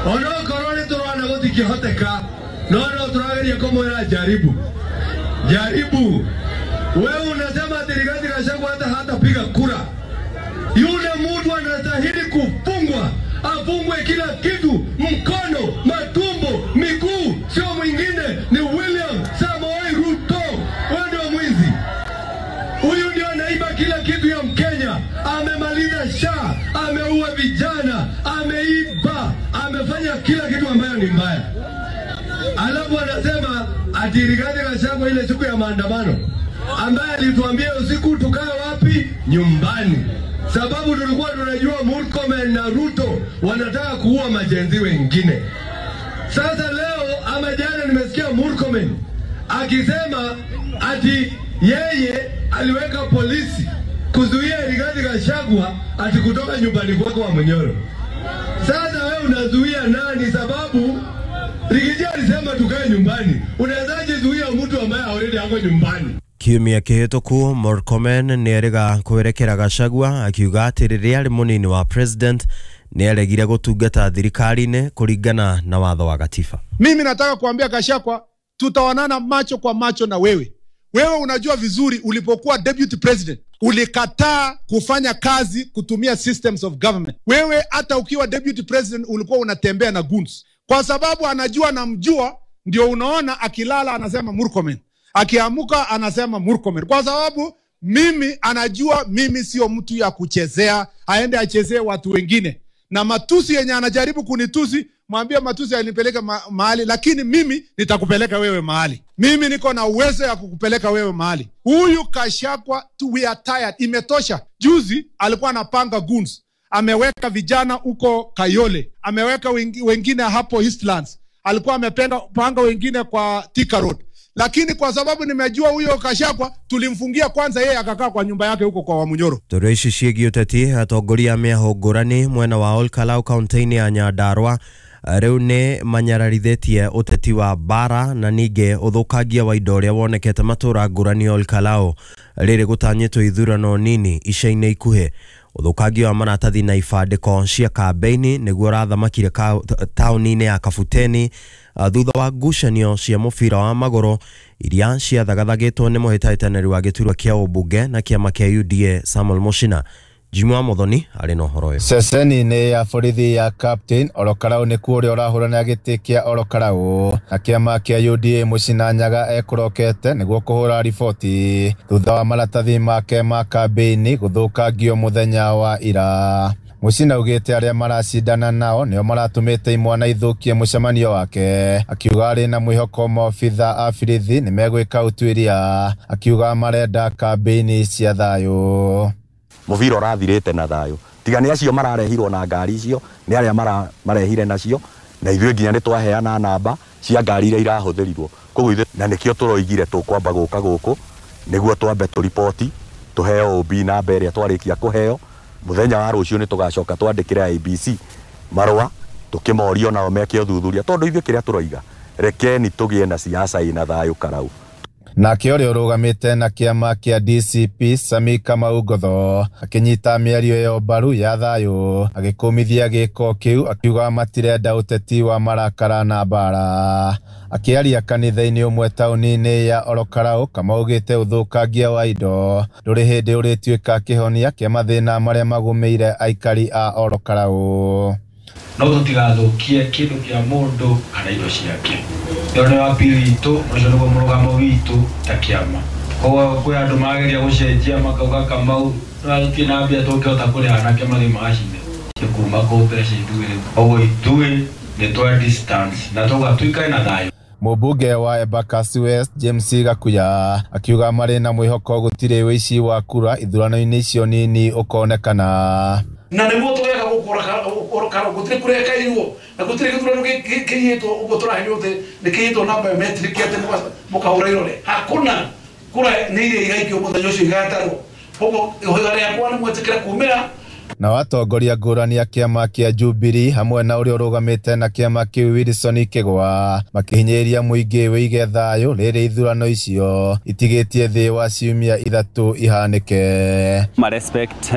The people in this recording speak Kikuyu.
Onokorwo nĩ tũrona gũtingĩhoteka, no no tũrageria kũmwĩra jaribu jaribu. Wewe unasema ati Rigathi Gachagua hata hatapiga kura. Yule mtu anastahili kufungwa, afungwe kila kitu, mkono, matumbo, miguu, sio mwingine, ni William Samoei Ruto. Wewe ndio mwizi. Huyu ndio anaiba kila kitu ya Mkenya. Amemaliza SHA, ameua vijana, ameiba, amefanya kila kitu ambayo ni mbaya. Alafu anasema ati Rigathi Gachagua ile siku ya maandamano ambaye alituambia usiku tukae wapi? Nyumbani, sababu tulikuwa tunajua Murkomen na Ruto wanataka kuua majenzi wengine. Sasa leo ama jana nimesikia Murkomen akisema ati yeye aliweka polisi kuzuia Rigathi Gachagua ati kutoka nyumbani kwake wa Munyoro. Sasa wewe unazuia nani? Sababu Riggy G alisema tukae nyumbani. Unawezaje zuia mtu ambaye already ako nyumbani? Kiumia kĩhĩtũku Murkomen nĩerĩga kwerekera Gachagua akiuga atĩ rĩrĩa arĩ mũnini wa president nĩaregire gũtungata thirikari-inĩ kũringana na watho wa gatiba. Mimi nataka kuambia Gachagua, tutaonana macho kwa macho na wewe. Wewe unajua vizuri ulipokuwa deputy president ulikataa kufanya kazi kutumia systems of government. Wewe hata ukiwa deputy president ulikuwa unatembea na goons, kwa sababu anajua namjua, ndio unaona akilala anasema Murkomen, akiamuka anasema Murkomen, kwa sababu mimi anajua mimi sio mtu ya kuchezea, aende achezee watu wengine. Na matusi yenye anajaribu kunitusi, mwambie matusi alinipeleka mahali, lakini mimi nitakupeleka wewe mahali. Mimi niko na uwezo ya kukupeleka wewe mahali. Huyu Gachagua tu, we are tired, imetosha. Juzi alikuwa anapanga goons, ameweka vijana huko Kayole, ameweka wengine hapo Eastlands, alikuwa amependa panga wengine kwa Thika Road. Lakini kwa sababu nimejua huyo Gachagua, tulimfungia kwanza, yeye akakaa kwa nyumba yake huko kwa Wamunyoro. Tũrĩ ici ciĩgiĩ ũteti, atongoria a mĩahũ ngũrani mwena wa Olkalau kaunti-inĩ ya Nyandarua rĩu nĩ manyararithĩtie ũteti wa mbara na ningĩ ũthũkangia wa indo ũrĩa wonekete matũra ngũrani Olkalau rĩrĩ gũtanyĩtwo ithurano nini ica-inĩ ikuhĩ. Ũthũkangia wa maratathi na ibandĩko cia kambĩini nĩguo ũrathamakire taũni-inĩ ya Kabuteni thutha wa ngucanio cia mũbira wa magũrũ iria ciathagathagĩtwo nĩ mũhĩtahĩtanĩri wa gĩturwa kĩa ũmbunge na kĩama kĩa UDA Samuel Muchina. Jimmy wa Muthoni arĩ na ũhoro ũyũ. Ceceni-inĩ ya borithi ya Captain Olokarau nĩkuo ũrĩa ũrahũrana gĩtĩ kĩa Olokarau na kĩama kĩa UDA Muchina Nyaga ekũrokete nĩguo kũhũra riboti thutha wa maratathi make ma kambĩini gũthũkangio mũthenya wa ira. Muchina augĩte arĩa maracindana nao nĩo maratũmĩte imwana ithũkie mũcemanio wake, akiuga arĩ na mwĩhoko maobitha a borithi nĩmegwĩka ũtuĩria, akiuga marenda kambĩini cia thayũ. Mũbira ũrathirĩte na thayũ, tiga nĩ acio mararehirwo na ngari icio, nĩ arĩa marehire nacio, na ithuĩ nginya nĩ twaheana namba cia ngari iria irahũthĩrirwo. Koguo ithuĩ na nĩkĩo tũroigire tũkwamba gũka gũkũ nĩguo twambe tũriboti tũheo OB namba ĩrĩa twarĩkia kũheo. Mũthenya wa rũciũ nĩ tũgacoka twandĩkĩre IEBC marũa tũkĩmorio nao meke ũthuthuria, tondũ ithuĩ kĩrĩa tũroiga, rekeni tũgĩe na siasa ĩna thayũ Karau. Nake ũrĩa ũrũgamĩte na kĩama kĩa DCP Sami Kamau Ngotho akĩnyita mĩario ĩyo mbaru ya thayũ, agĩkũmithia gĩko kĩu akiuga matirenda ũteti wa marakara na mbara. Akĩaria kanitha-inĩ ũmwe taũni-inĩ ya Olokarau, Kamau augĩte ũthũkangia wa indo ndũrĩ hĩndĩ ũrĩtuĩka kĩhonia kĩa mathĩna marĩa magũmĩire aikari a Olokarau. No tũtigathũkie kĩndũ kĩa mũndũ kana indo ciake. Ĩyo nĩyo appeal itũ, ũcio nĩguo mũrũgamo witũ ta kĩama. Koguo kwĩ andũ mageria gũcenjia makauga Kamau no tũtirĩ na mbia tũngĩhota kũrĩha anake mathiĩ magacinde kuma kũ mbeca ithuĩ. Koguo ithuĩ nĩ twa distance na tũga tuikare na thayũ. Mũmbunge wa Embakasi West James Gakuya akiuga marĩ na mwĩhoko gũtirĩ ũici wa kura ithurano-inĩ icio nini ũkonekana. Na nĩguo tũgeka gũkũ Karau gũtirĩ kura ĩkaiywo na gũtirĩ gĩthurano kĩiyĩtwo ũguo tũraherio atĩ nĩ kĩiyĩtwo na biometric atĩ mũkahũra irore. Hakuna kura nĩ iria igaikio mũthenya ũcio igatarwo. Koguo ihoya rĩakwa nĩ mwĩtĩkĩre kumĩra. Nao atongoria ngũrani a kĩama kĩa Jubilee hamwe na ũrĩa ũrũgamĩte na kĩama kĩu Wilson Kĩgwa makĩhinyĩrĩria mũingĩ wĩige thayũ rĩrĩ ithurano icio itigĩtie thĩ wa ciumia 3 ihanĩke. Ma respect.